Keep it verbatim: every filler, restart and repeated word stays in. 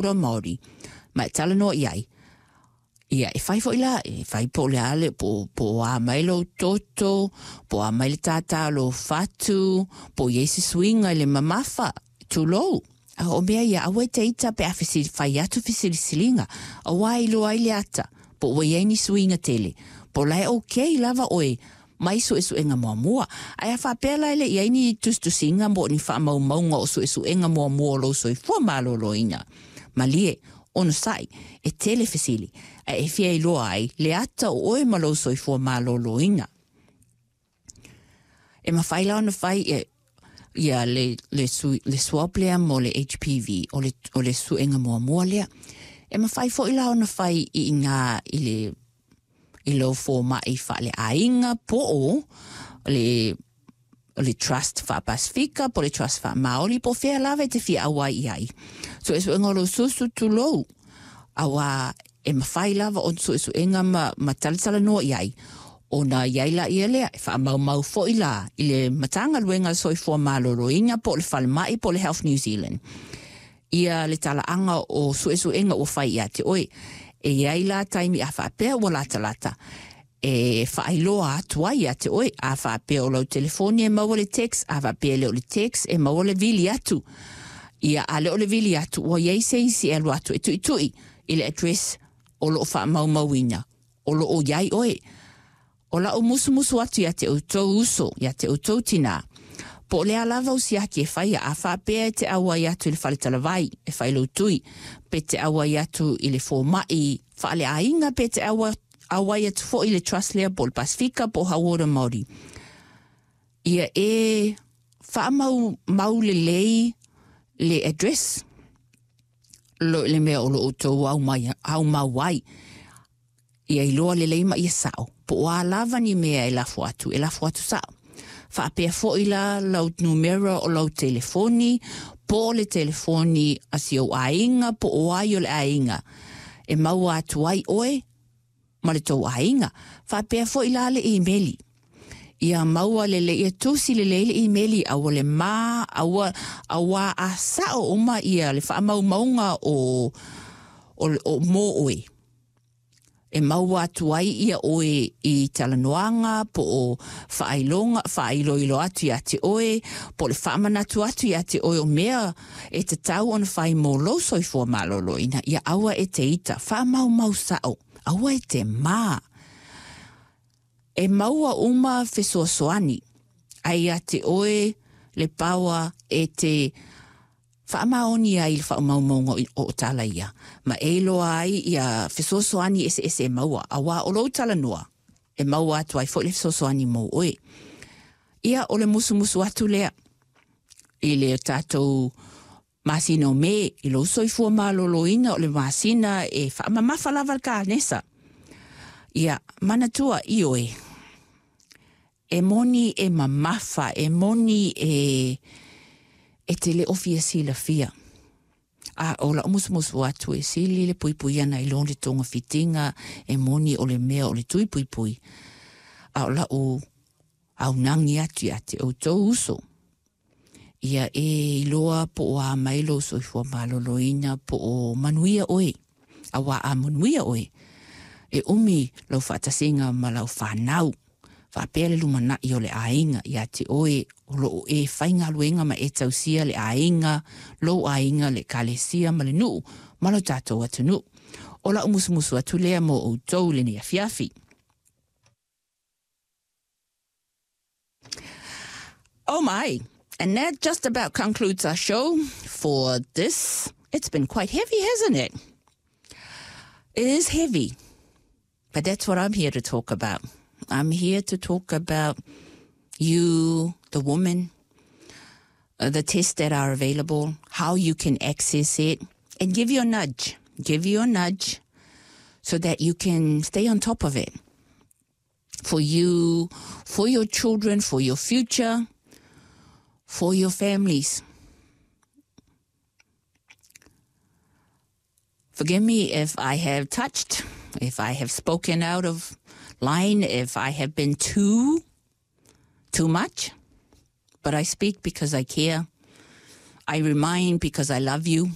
Ora Māori, ma e talanoa i ai. Ia, e fai foi la, e fai po o le a le, po, po o a mai lou toto, po o a mai le tātā o lou fatu, po o i ai se suiga i le mamafa, tulou. A o mea ia, aua e te ita pe a fesili, fai atu fesilisiliga, auā e iloa ai le ata, po ua i ai ni suiga tele, po o la e okay lava oe mai suesuega muamua. Ae a faapea la e le i ai ni tusitusiga mo ni faamaumauga o suesuega muamua o lou soifua maloloina, malie, onosai, e tele fesili, ae e fia iloa ai le ata o oe ma lou soifua maloloina. E mafai la ona fai e ia le, le, su, le swab lea mo le H P V, o le, o le suega muamua lea. E mafai foi la ona fai i ngā i le i lou fōma'i faaleaiga po o le le trust faa-Pasifika, po le trust faa-Māori, po fea lava e te fia auai i ai. Suesuega o lou susu tulou, auā e mafai lava ona suesuega ma, ma talatalanoa i ai. Ona i ai la ia lea, e faamaumau foi la i le Matagaluega o le Soifua Maloloina po o le Falemai po o le Health New Zealand. Ia le talaaga o suesuega ua fai ia te oe. E i ai la taimi a faapea ua latalata e faailoa atu ai ia te oe. A faapea o lau telefoni e maua le text, a faapea le o le text e maua le vili atu. Ia a le o le vili atu, ua i ai se isi e alu atu e tuitui i le address o loo faamaumauina, o loo i ai oe. O lau musumusu atu ia te outou uso, ia te outou tinā. Po o le a lava o siaki e faia, a faapea e te auai atu i le faletalavai, e fai lou tui, pe te auai atu i le fōma'i faaleaiga, pe te aua, auai atu foi i le trust lea po o le Pasifika po o Hauora Māori. Ia e faamau mau lelei le address lo le mea o lo outou au mai, au mau ai. Ia iloa lelei ma ia sao. Po o a lava ni mea e lafo atu, e lafo atu sao. Faapea foi la lau numera o lau telefoni, po o le telefoni a si ou aiga, po o ai o le aiga. E maua atu ai oe ma le tou aiga. Faapea foi la le imeli. Ia maua lelei, ia tusi lelei le imeli, aua le ma, aua, aua a sao uma ia le faamaumauga o, o, o mō oe. E maua atu ai ia oe i talanoaga, po o faailoga, faailoilo atu ia te oe, po o le faamanatu atu ia te oe o mea e tatau ona fai mo lou soifua maloloina. Ia aua e te ita, faamaumau sao, aua e te mā. E maua uma fesoasoani, ai ia te oe le paoa e te faamaoni ai le faamaumauga o o tala ia. Ma e iloa ai ia fesoasoani eseese e maua, auā o lou talanoa, e maua atu ai foi le fesoasoani mo oe. Ia o le musumusu atu lea i le tatou masina o Me, i lou soifua maloloina o le masina e faamamafa lava le kanesa. Ia, manatua i oe, e moni e mamafa, e moni e e te le o fia silafia. A o lau musumusu atu e sili le puipui ana i lo le togafitiga e moni o le mea o le tui puipui. A o lau aunagi atu ia te outou uso. Ia e iloa po o a mai lou soifua maloloina po o manuia oe. Auā a manuia oe. E umi lau faatasiga ma lau fanau. Faapea le lumana'i o le aiga ia te oe o loo e faigaluega ma e tausia le aiga, lou aiga, le ekalesia ma le nuu ma lo tatou atunuu. O lau musumusu atu lea mo outou lenei afiafi. Oh my, and that just about concludes our show for this. It's been quite heavy, hasn't it? It is heavy, but that's what I'm here to talk about. I'm here to talk about you, the woman, uh, the tests that are available, how you can access it, and give you a nudge. Give you a nudge so that you can stay on top of it. For you, for your children, for your future, for your families. Forgive me if I have touched, if I have spoken out of line, if I have been too, too much. But I speak because I care. I remind because I love you.